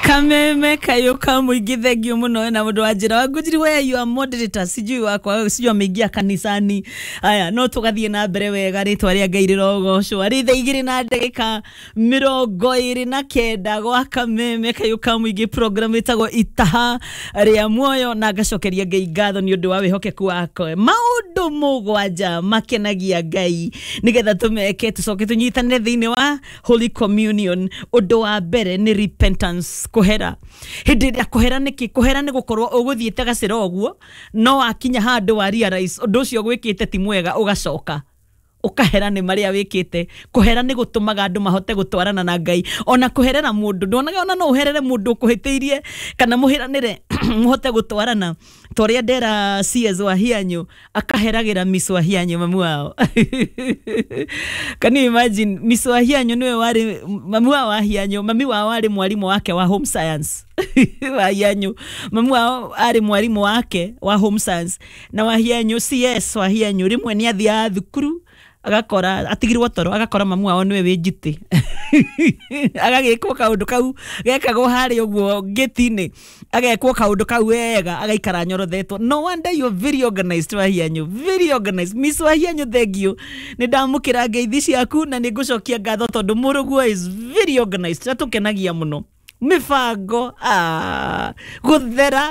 Kameme kayo ka muingĩ, thengio mũno na mũndũ wa njĩra wa ngũnjiri we, you are moderator, sijui wakwa, sijui ameingia kanisani. Aya, no tũgathiĩ na mbere wega, rĩtwa rĩa Ngai rĩrogocwo. Arĩ thaa 2:29 gwa Kameme kayo ka muingĩ, program ĩtagwo Itaha rĩa Muoyo, na ngacokeria Ngai ngatho nĩ ũndũ wa wĩhokeku wake. Maũndũ mũgwanja makenagia Ngai nĩgetha tũmeke tũcoke tũnyitanĩre thĩinĩ wa Holy Communion. Ũndũ wa mbere nĩ repentance, kũhera. Hĩndĩ ĩrĩa kũhera nĩkĩ? Kũhera nĩ gũkorwo ũgũthiĩte gacĩra ũguo, no wakinya handũ wa realize ũndũ ũcio gwĩkĩte ti mwega, ũgacoka ũkahera nĩ marĩa wĩkĩte. Kũhera nĩ gũtũmaga andũ mahote gũtwarana na Ngai. Ona kũherera mũndũ, ndonaga ona no ũherere mũndũ ũkũhĩtĩirie kana mũhĩranĩre mũhote gũtwarana, ta ũrĩa ndera CS wa Hianyu akaheragĩra Miss wa Hianyu, mamu wao. Can you imagine? Miss wa Hianyu nĩwe warĩ mamu wao wa Hianyu. Mami wao arĩ mwarimũ wake wa home science. Wa Hianyu, mamu wao arĩ mwarimũ wake wa home science, na wa Hianyu, CS wa Hianyu, rĩmwe nĩ athiaga thukuru agakora atigirwo toro, agakora mamu wao niwe wĩ njitĩ, agagĩkwo kaũndũ kau gekagwo harĩa ũguo ngĩti-inĩ, agekwo kaũndũ kau wega, agaikara nyorothetwo. No wonder you're very organized, Wahianyu, very organized. Miss Wahianyu, thank you, nĩ ndamũkĩra ngeithi ciaku na nĩ ngũcokia ngatho tondũ mũrũguo is very organized, atũkenagia mũno mĩbango, gũthera.